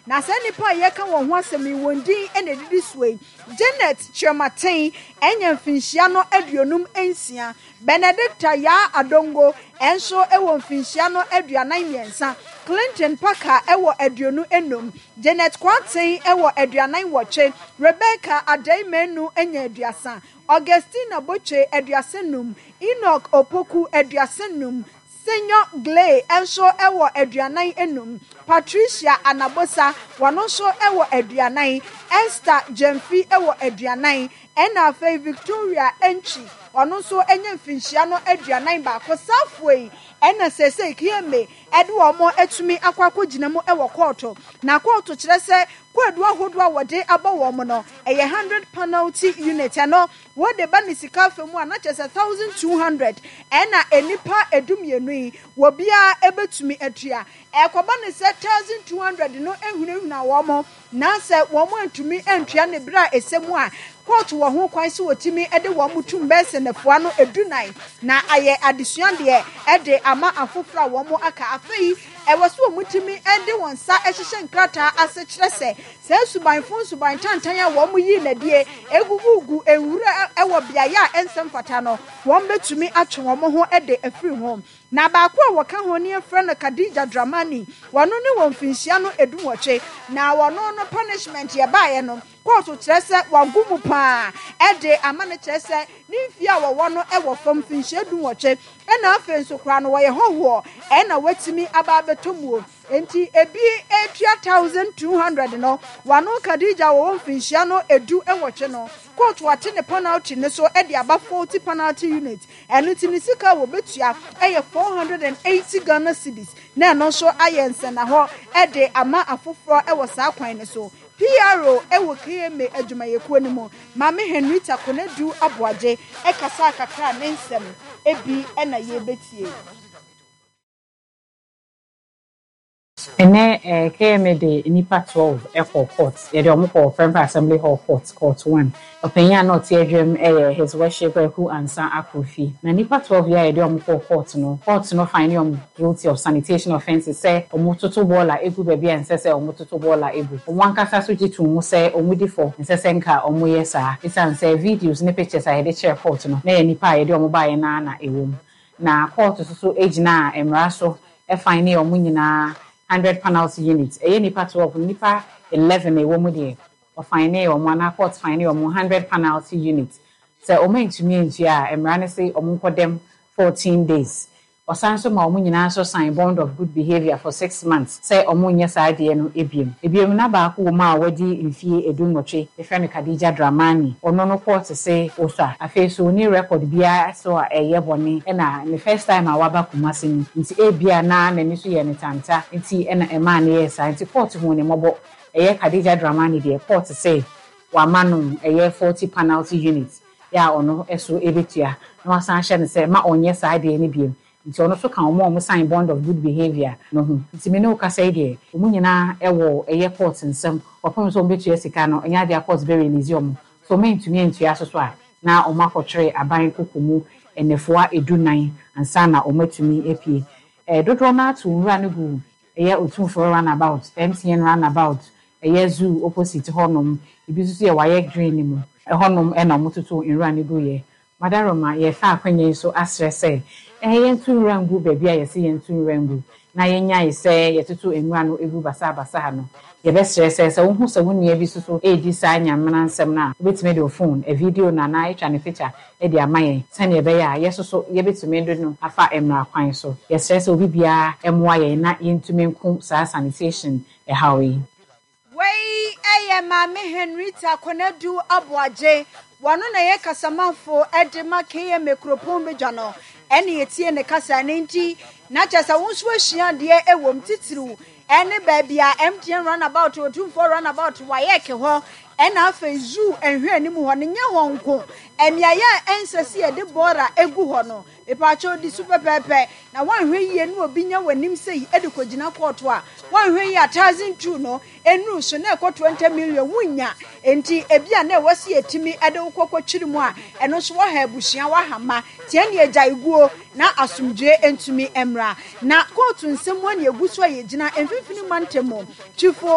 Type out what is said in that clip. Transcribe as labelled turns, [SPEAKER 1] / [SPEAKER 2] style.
[SPEAKER 1] Na saa nnipa a yɛreka wɔn ho asɛm yi, wɔn din na ɛdidi soɔ yi, Janet Kyerematen anya mfinhyia no 56, Benedicta Yaa Adongo nso wɔ mfinhyia no 43, Clinton Parker wɔ 25, Janet Kwarteng wɔ 48, Rebecca Adei Manu anya 30, Augustina Botwe 35, Enoch Opoku 35, Senyo Gley nso wɔ 45, Patricia Anabosa, wɔno nso wɔ 40, Esther Gyamfi wɔ 40, ɛna afei Victoria Antwi, ɔno nso anya mfinhyia no 41. Saafoɔ yi ɛna seesei KMA ɛde wɔn atumi akɔ akɔgyina mu wɔ kɔɔto. Na kɔɔto kyerɛ sɛ kwaadu ahodoɔ a wɔde abɔ wɔn no, ɛyɛ 100 penalty unit. Ɛno Wode ba ne sika afa mu a, na kyerɛ sɛ 1,200 ɛna nnipa 12 yi, obiara bɛtumi atua. Ɛkɔba no sɛ 1,200 no hunahuna wɔn, na sɛ wɔn antumi antua no berɛ a ɛsɛ mu a, kóòtù wɔ ho kwan sɛ wɔtumi de wɔn tum bɛyɛ sɛ nnafua no dunan, na ayɛ adesuadeɛ de ama afoforɔ a wɔn aka. Afei, ɛwɔ sɛ wɔtumi de wɔn nsa hyehyɛ nkrataa ase kyerɛ sɛ Saa suban fo nsuban tantan a wɔyii no adie gugugu nwura wɔ beaeɛ a ɛnsɛ mfata no, wɔbɛtumi atwe wɔn ho de afiri ho. Na baako a wɔka ho no yɛfrɛ no Khadija Dramani, wɔno ne wɔ mfinhyia no dunwɔtwe, na wɔno no punishment yɛbaeɛ no, kɔɔto kyerɛ sɛ wago mu paa de ama no kyerɛ sɛ ne mfie a wɔwɔ no wɔ fam mfinhyia dunwɔtwe, ɛna afei nso koraa no wɔyɛ hɔhoɔ ɛna watumi aba abɛtɔ muo. Enti ebi retua 1,200 no, wano Khadija a wɔwɔ mfinhyia no 18 no, kóòtù ate ne panalty no so de aba 40 panalty unit. Ɛno nti ne sika a wɔbɛtua yɛ 480 Ghana cedis, na ɛno nso ayɛ nsɛnnahɔ de ama afoforɔ wɔ saa kwan no so. PRO wɔ KMA adwumayɛkuo no mu, Maame Henrietta Konadu Aboagye kasaa kakra a ne nsɛm bi na yɛrebɛtie.
[SPEAKER 2] Ɛnnɛ eh, KMA de nnipa 12 kɔɔ court. Yɛde wɔn kɔɔ Prempeh Assembly Hall Court, Court One. Ɔpanyin a na ɔte adwam yɛ His Worship Kwaku Ansah Akrofi. Na nnipa 12 yi a yɛde wɔn kɔɔ court no, court no findee wɔn guilty of sanitation offences sɛ wɔtoto bɔɔla gu baabi a ɛnsɛ sɛ wɔtoto bɔɔla gu. Wɔn ankasa nso gye too mu sɛ wɔdi fɔ, ɛnsɛ sɛ nka wɔyɛ saa. Esiane sɛ videos ne pictures a yɛde kyerɛɛ court no, na ɛyɛ nnipa a yɛde wɔn baeɛ no ara na ɛwɔ mu. Na kɔɔto nso so gyinaa mmara so finee wɔn nyinaa hundred panalty unit. Ɛyɛ nnipa 12 no, nnipa 11 a ɛwɔ mu deɛ, wɔfinee wɔn anaa court finee wɔn hundred panalty unit. Sɛ wɔantumi antua a, mmara no se wɔnkɔdam 14 days. Ɔsan nso ma wɔn nyinaa nso sign bond of good behaviour for 6 months sɛ wɔnyɛ saa adeɛ no biom. Ebiom, na baako wɔ mu a wadi mfie 18, yɛfrɛ no Khadija Dramani. Ɔno no kɔɔte se osua. Afei nso ɔnni record biara so a ɛyɛ bɔne ɛna ne first time a waba Kumasi ni nti ebia na n'ani so yɛ no tanta nti na ɛmaa no yɛɛ saa nti kɔɔte huu no mmɔbɔ. Ɛyɛ Khadija Dramani deɛ kɔɔte se wama no ɛyɛ 40 panalty unit yɛ a ɔno so bɛtua na wasan ahyɛ no sɛ ma ɔnyɛ saa adeɛ no biom. Nti ɔno nso ka wɔn a wɔn sign bond of good behaviour no ho. Nti me ne wo kasa yi deɛ, wɔn nyinaa wɔ ɛyɛ court nsam kɔpem sɛ wɔn bɛtua sika no, ɛnyɛ adeɛ a court bɛ release wɔn. Sɛ wɔn antumi antua nso so a, na wɔn akɔtwere aban koko mu nnafua 14 ansa na wɔn atumi apue. Dodoɔ no ara to nwura no gu ɛyɛ Otumfoɔ runabout, MTN runabout, ɛyɛ zoo opposite hɔnom, ebi nso so yɛ Wayɛ Green no mu, ɛhɔnom na wɔtoto nwura no guiɛ. Madaroma, yɛrefa akwanya yi so asrɛ sɛ yɛnto nwura ngu baabi a yɛse yɛnto nwura ngu, na yɛnnyae sɛ yɛtoto nwura no gu basaabasaa no. Yɛbɛsrɛ sɛ, sɛ wohu sɛ wo nua bi nso so redi saa Nyamena nsɛm no a, wobɛtumi de wo fon, video no anaa atwa no pikya de ama yɛn sɛnea ɛbɛyɛ a yɛn nso so yɛbɛtumi de no afa mmara kwan so. Yɛsrɛ sɛ obi biara mmoa yɛn na yɛntumi nko saa sanitation haw yi.
[SPEAKER 1] Wei yɛ Maame Henrietta Konadu Aboagye, wɔno na ɛyɛ kasamafo de ma KMA kuropɔn badwa no, ɛne yɛtie ne kasa ɛno nti na kyerɛ sɛ wo nso asua adeɛ ɛwom titiriw ɛne baabi a MTN runabout, Otumfoɔ runabout, WAEC hɔ ɛna afei zoo nhwɛ anim hɔ no nyɛ hɔ nko, mmeaeɛ a ɛnsɛ sɛ yɛde bɔɔla egu hɔ no. Mepaakyɛw di so pɛpɛɛpɛ na woanhwɛ yie na obi nya w'anim sei de kɔgyina kɔɔto a, woanhwɛ yie a 1,002 no nnuru so na ɛkɔ 20 million wonnya. Enti ebi a na ɛwɔ sɛ yɛtumi de wo kɔ kɔtwiri mu a, ɛno nso woaha abusua, woaha mma. Nti ɛnneɛ gyae guo na asomdwoeɛ ntumi mmra. Na kɔɔto nsɛm mu a na yɛgu so a yɛgyina mfimfini mantam mu. Twifo.